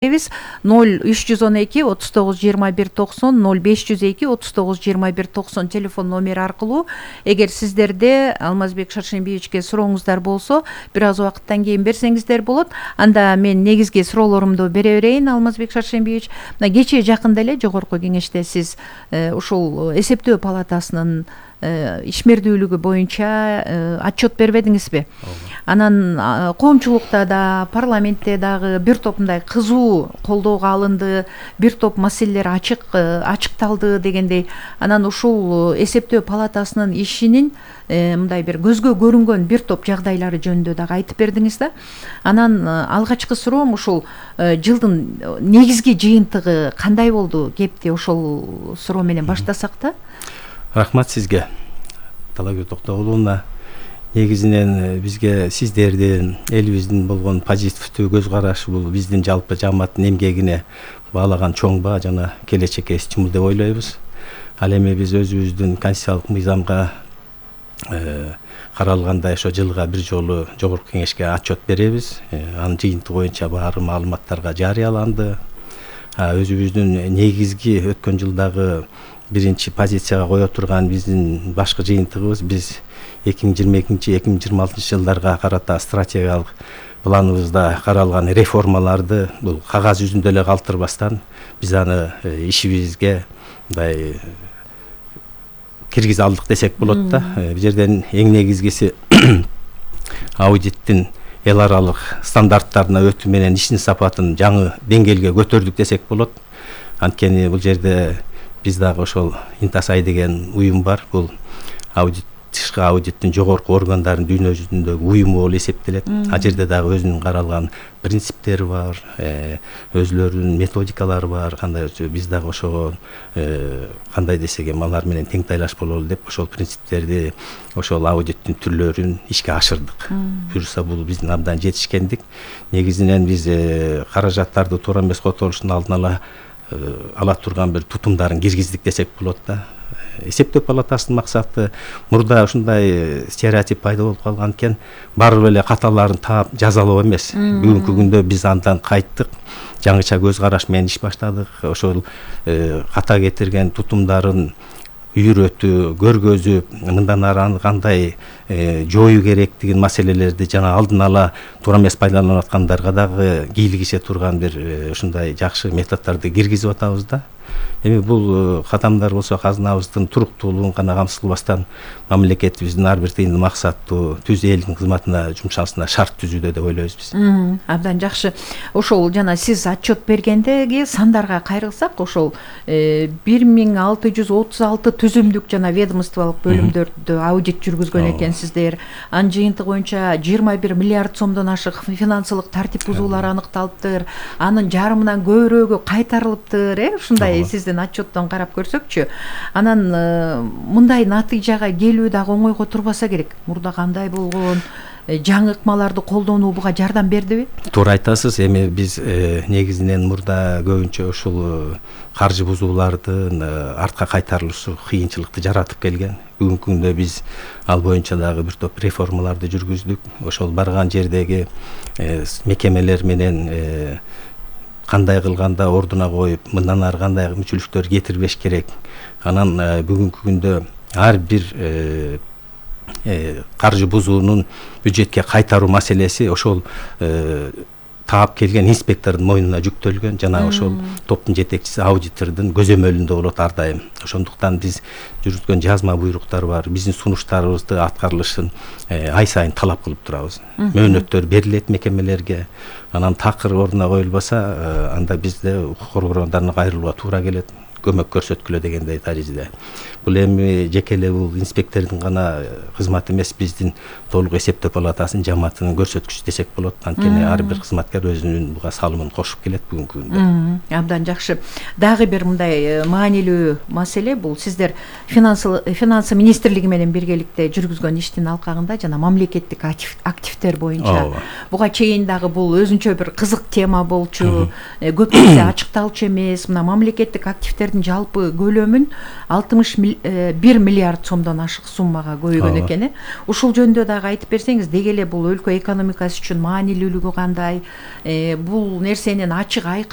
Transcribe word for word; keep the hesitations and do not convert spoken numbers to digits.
ноль үч жүз он эки отуз тогуз жыйырма бир токсон ноль беш жүз эки отуз тогуз жыйырма бир токсон телефон номери аркылуу эгер сиздерде Алмазбек Шаршембиевичке сурооңуздар болсо бир аз убакыттан кийин берсеңиздер болот. Анда мен негизги суроолорумду бере берейин. Алмазбек Шаршембиевич, мына кечээ жакында эле жогорку кеңеште сиз ушул эсептөө палатасынын ишмердүүлүгү боюнча отчет бербедиңизби? Анан коомчулукта да, парламентте дагы бир топ мындай кызуу колдоого алынды, бир топ маселелер ачык ачыкталды дегендей. Анан ушул эсептөө палатасынын ишинин мындай бир көзгө көрүнгөн бир топ жагдайлары жөнүндө дагы айтып бердиңиз да. Анан алгачкы суроом ушул жылдын негизги жыйынтыгы кандай болду? Кепти ошол суроо менен баштасак да. Рахмат сизге, Талакөз Токтогуловна. Негизинен бизге сиздердин, элибиздин болгон позитивдүү көз караш бул биздин жалпы жамааттын эмгегине баалаган чоң баа жана келечекке стимул деп ойлойбуз. Ал эми биз өзүбүздүн конституциялык мыйзамга каралгандай ошо жылга бир жолу жогорку кеңешке отчет беребиз. Анын жыйынтыгы боюнча баары маалыматтарга жарыяланды. Өзүбүздүн негизги өткөн жылдагы биринчи позицияга кое турган биздин башкы жыйынтыгыбыз биз эки миң жыйырма экинчи эки миң жыйырма алтынчы жылдарга карата стратегиялык планыбызда каралган реформаларды бул кагаз жүзүндө эле калтырбастан биз аны ишибизге мындай киргизе алдык десек болот да. Бул жерден эң негизгиси аудиттин эл аралык стандарттарына өтүү менен иштин сапатын жаңы деңгээлге көтөрдүк десек болот. Анткени бул жерде биз дагы ошол Интасай деген уюм бар. Бул аудит тышкы аудиттин жогорку органдарынын дүйнө жүзүндөгү уюму болуп эсептелет. А жерде дагы өзүнүн каралган принциптери бар, өзүлөрүнүн методикалары бар. Кандай биз дагы ошого кандай десек эми алар менен тең тайлаш бололу деп ошол принциптерди, ошол аудиттин түрлөрүн ишке ашырдык. Буюрса бул биздин абдан жетишкендик. Негизинен биз каражаттарды туура эмес которушун алдын ала ала турган бир тутумдарын киргиздик десек болот да. Эсептөө палатасынын максаты мурда ушундай стереотип пайда болуп калган экен, барып эле каталарын таап жазалоо эмес. Бүгүнкү күндө биз андан кайттык, жаңыча көз караш менен иш баштадык. Ошол ката кетирген тутумдарын үйрөтүү, көргөзүп, мындан ары аны кандай жоюу керектигин маселелерди жана алдын ала туура эмес пайдаланып аткандарга дагы кийлигише турган бир ушундай жакшы методдорду киргизип атабыз да. Эми бул кадамдар болсо казынабыздын туруктуулугун гана камсыздабастан мамлекетибиздин ар бир тыйын максаттуу түз элдин кызматына жумшалышына шарт түзүүдө деп ойлойбуз биз. Абдан жакшы. Ошол жана сиз отчет бергендеги сандарга кайрылсак, ошол бир миң алты жүз отуз алты түзүмдүк жана ведомстволук бөлүмдөрдө аудит жүргүзгөн экенсиздер. Анын жыйынтыгы боюнча жыйырма бир миллиард сомдон ашык финансылык тартип бузуулар аныкталыптыр. Анын жарымынан көбүрөгү кайтарылыптыр, э? Ушундай сиздин отчеттон карап көрсөкчү. Анан мындай натыйжага келүү дагы оңойго турбаса керек. Мурда кандай болгон, жаңы ыкмаларды колдонуу буга жардам бердиби? Туура айтасыз. Эми биз негизинен мурда көбүнчө ушул каржы бузуулардын артка кайтарылышы кыйынчылыкты жаратып келген. Бүгүнкү күндө биз ал боюнча дагы бир топ реформаларды жүргүздүк. Ошол барган жердеги мекемелер менен кандай кылганда ордуна коюп, мындан ары кандай мүчүлүктөр кетирбеш керек. Анан бүгүнкү күндө ар бир каржы бузуунун бюджетке кайтаруу маселеси ошол таап келген инспектордун мойнуна жүктөлгөн жана ошол топтун жетекчиси аудитордун көзөмөлүндө болот ар дайым. Ошондуктан биз жүргүзгөн жазма буйруктар бар. Биздин сунуштарыбызды аткарылышын ай сайын талап кылып турабыз. Мөөнөттөр берилет мекемелерге. Анан такыр ордуна коюлбаса, анда бизде укук коргоондарына кайрылууга туура келет. Көмөк көрсөткүлө дегендей таризде. Бул эми жеке эле бул инспектордун гана кызматы эмес, биздин толук эсептөө палатасынын жамаатынын көрсөткүчү десек болот. Анткени ар бир кызматкер өзүнүн буга салымын кошуп келет бүгүнкү күндө. Абдан жакшы. Дагы бир мындай маанилүү маселе бул сиздер финансы министрлиги менен биргеликте жүргүзгөн иштин алкагында жана мамлекеттик активдер боюнча. Буга чейин дагы бул өзүнчө бир кызык тема болчу. Көп нерсе ачыкталчу эмес. Мына мамлекеттик активдер кредиттердин жалпы көлөмүн алтымыш бир миллиард сомдон ашык суммага көбөйгөн экен э ушул жөнүндө дагы айтып берсеңиз, деги эле бул өлкө экономикасы үчүн маанилүүлүгү кандай, бул нерсенин ачык айкын